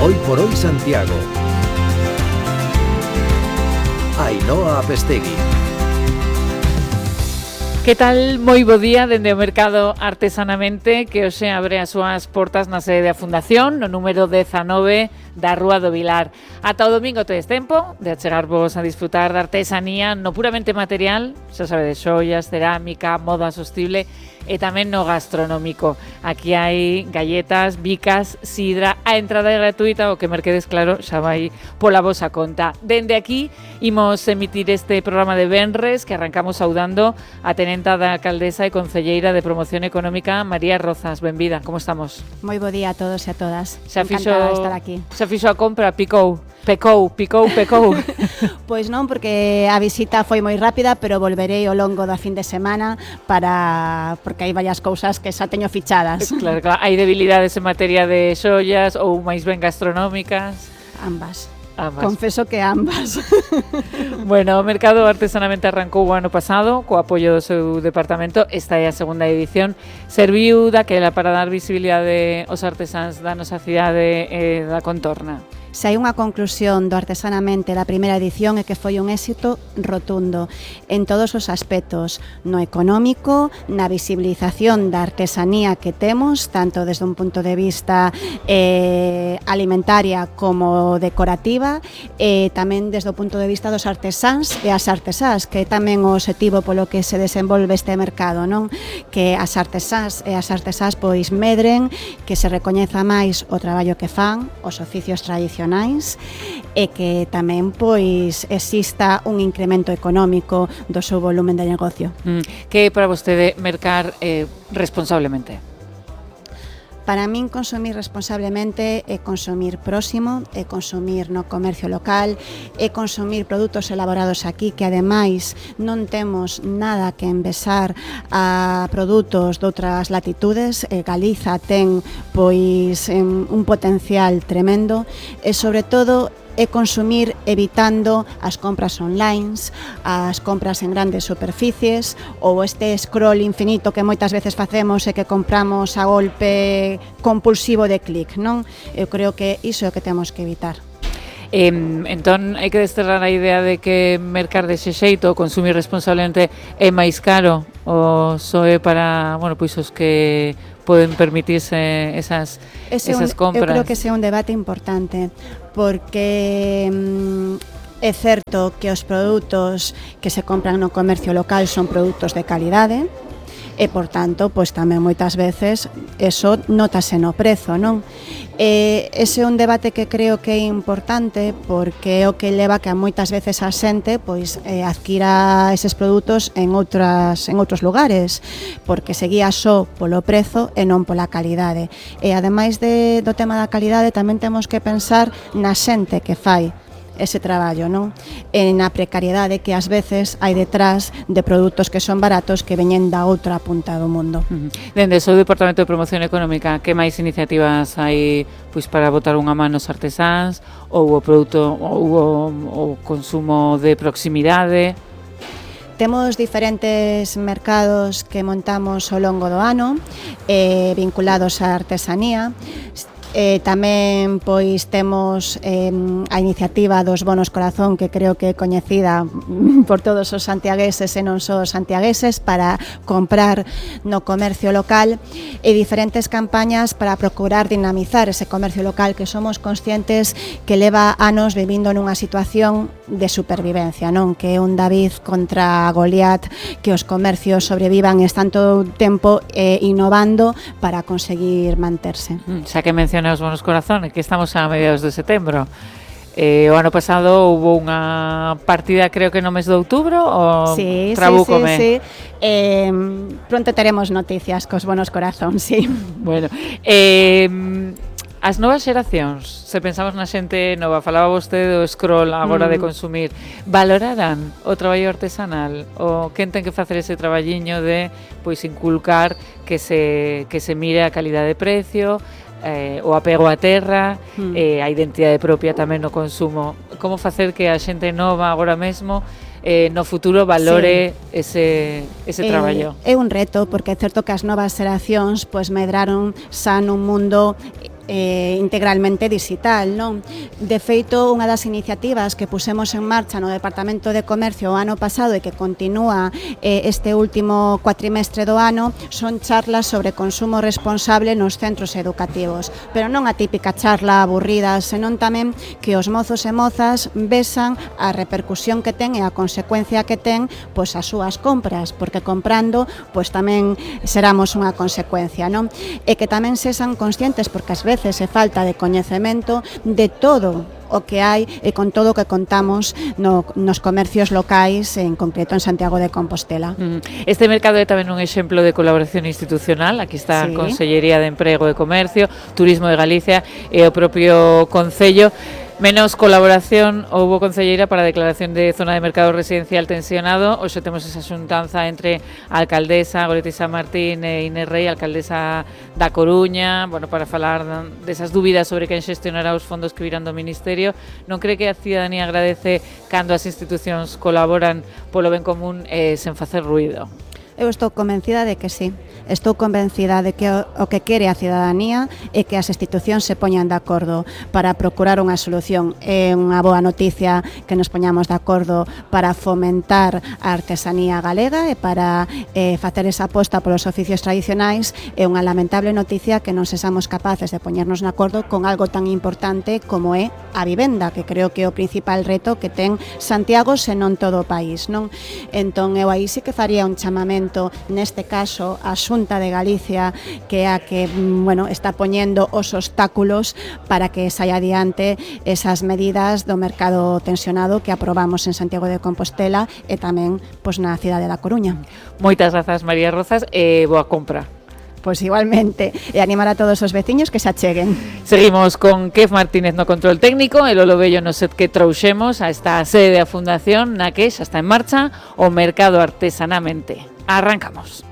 Hoy por hoy Santiago. Ainhoa Apestegui. Que tal? Moi bo día dende o Mercado Artesanamente, que hoxe abre as súas portas na sede da Fundación, no número 19 da Rúa do Vilar. Ata o domingo tedes tempo de achegarvos a disfrutar da artesanía no puramente material, xa sabe, de xoias, cerámica, moda sostible e tamén no gastronómico. Aquí hai galletas, bicas, sidra, a entrada é gratuita, o que merquedes claro xa vai pola vosa conta. Dende aquí imos emitir este programa de venres que arrancamos saudando a tenenta da alcaldesa e concelleira de Promoción Económica, María Rozas. Benvida, como estamos? Moi bo día a todos e a todas. Encantada de estar aquí. Xa fixo a compra, pecou. Pois non, porque a visita foi moi rápida, pero volverei ao longo da fin de semana porque hai varias cousas que xa teño fichadas. Claro, hai debilidades en materia de xollas ou máis ben gastronómicas? Ambas. Confeso que ambas. Bueno, o Mercado Artesanamente arrancou o ano pasado co apoio do seu departamento. Esta é a segunda edición. Serviu daquela para dar visibilidade aos artesáns da nosa cidade e da contorna. Se hai unha conclusión do Artesanamente da primeira edición é que foi un éxito rotundo en todos os aspectos, no económico, na visibilización da artesanía que temos, tanto desde un punto de vista alimentaria como decorativa, e tamén desde o punto de vista dos artesáns e as artesás, que é tamén o obxectivo polo que se desenvolve este mercado, non? Que as artesás e as artesás pois medren, que se recoñeza máis o traballo que fan, os oficios tradicionais, e que tamén pois exista un incremento económico do seu volumen de negocio. Que é para vostede mercar responsablemente? Para min consumir responsablemente é consumir próximo, é consumir no comercio local, é consumir produtos elaborados aquí que ademais non temos nada que envesar a produtos de outras latitudes. Galiza ten pois un potencial tremendo e sobre todo é consumir evitando as compras online, as compras en grandes superficies ou este scroll infinito que moitas veces facemos e que compramos a golpe compulsivo de clic, non? Eu creo que iso é o que temos que evitar. Entón, hai que desterrar a idea de que mercar dese xeito ou consumir responsablemente é máis caro ou só é para, bueno, pois os que poden permitirse esas compras. Eu creo que ese é un debate importante porque é certo que os produtos que se compran no comercio local son produtos de calidade e, por tanto, pois tamén moitas veces eso notase no prezo, non? Ese é un debate que creo que é importante porque é o que leva que a moitas veces a xente pois adquira eses produtos en outros lugares, porque se guía só polo prezo e non pola calidade. E ademais do tema da calidade tamén temos que pensar na xente que fai ese traballo, non? E na precariedade que ás veces hai detrás de produtos que son baratos que veñen da outra punta do mundo. Dende o seu Departamento de Promoción Económica, que máis iniciativas hai pois para botar unha man nos artesáns ou o produto ou o consumo de proximidade? Temos diferentes mercados que montamos ao longo do ano vinculados á artesanía. Tamén pois temos a iniciativa dos bonos corazón, que creo que é coñecida por todos os santiagueses e non só os santiagueses, para comprar no comercio local, e diferentes campañas para procurar dinamizar ese comercio local que somos conscientes que leva anos vivindo nunha situación de supervivencia, non? Que é un David contra Goliat, que os comercios sobrevivan e están todo o tempo innovando para conseguir manterse. Xa que menciona os bonos corazones, que estamos a mediados de setembro. O ano pasado houve unha partida, creo que no mes de outubro, ou trabúcome? Sí. Pronto teremos noticias cos bonos corazón, sí. Bueno, as novas xeracións, se pensamos na xente nova, falaba vostede do scroll agora de consumir, valorarán o traballo artesanal? O quen ten que facer ese traballiño de pois inculcar que se mire a calidade de precio, o apego á terra, a identidade propia tamén no consumo? Como facer que a xente nova agora mesmo no futuro valore ese traballo? É un reto, porque é certo que as novas xeracións pois medraron xa nun mundo integralmente digital, non? De feito, unha das iniciativas que pusemos en marcha no Departamento de Comercio o ano pasado e que continúa este último cuatrimestre do ano son charlas sobre consumo responsable nos centros educativos, pero non a típica charla aburrida, senón tamén que os mozos e mozas vexan a repercusión que ten e a consecuencia que ten pois as súas compras, porque comprando pois tamén seramos unha consecuencia, non? E que tamén sexan conscientes, porque ás veces se falta de coñecemento de todo o que hai e con todo o que contamos nos comercios locais, en concreto en Santiago de Compostela. Este mercado é tamén un exemplo de colaboración institucional. Aquí está a Consellería de Emprego e Comercio, Turismo de Galicia e o propio Concello. Menos colaboración houbo, concelleira, para a declaración de zona de mercado residencial tensionado. Hoxe temos esa xuntanza entre a alcaldesa Goretti San Martín e Inés Rei, alcaldesa da Coruña, bueno, para falar desas dúbidas sobre quen xestionará os fondos que virán do Ministerio. Non cree que a cidadanía agradece cando as institucións colaboran polo ben común sen facer ruído? Eu estou convencida de que sí. Estou convencida de que o que quere a cidadanía é que as institucións se poñan de acordo para procurar unha solución. É unha boa noticia que nos poñamos de acordo para fomentar a artesanía galega e para facer esa aposta polos oficios tradicionais. É unha lamentable noticia que non sexamos capaces de poñernos de acordo con algo tan importante como é a vivenda, que creo que é o principal reto que ten Santiago, senón todo o país, non? Entón, eu aí sí que faría un chamamento, neste caso, a Xunta de Galicia, que é a que, bueno, está poñendo os obstáculos para que saia adiante esas medidas do mercado tensionado que aprobamos en Santiago de Compostela e tamén pois, na cidade da Coruña. Moitas grazas, María Rozas, e boa compra. Pois igualmente, e animar a todos os veciños que se acheguen. Seguimos con Kef Martínez no control técnico e Lolo Bello no set que trouxemos a esta sede da Fundación na que xa está en marcha o mercado artesanamente. Arrancamos.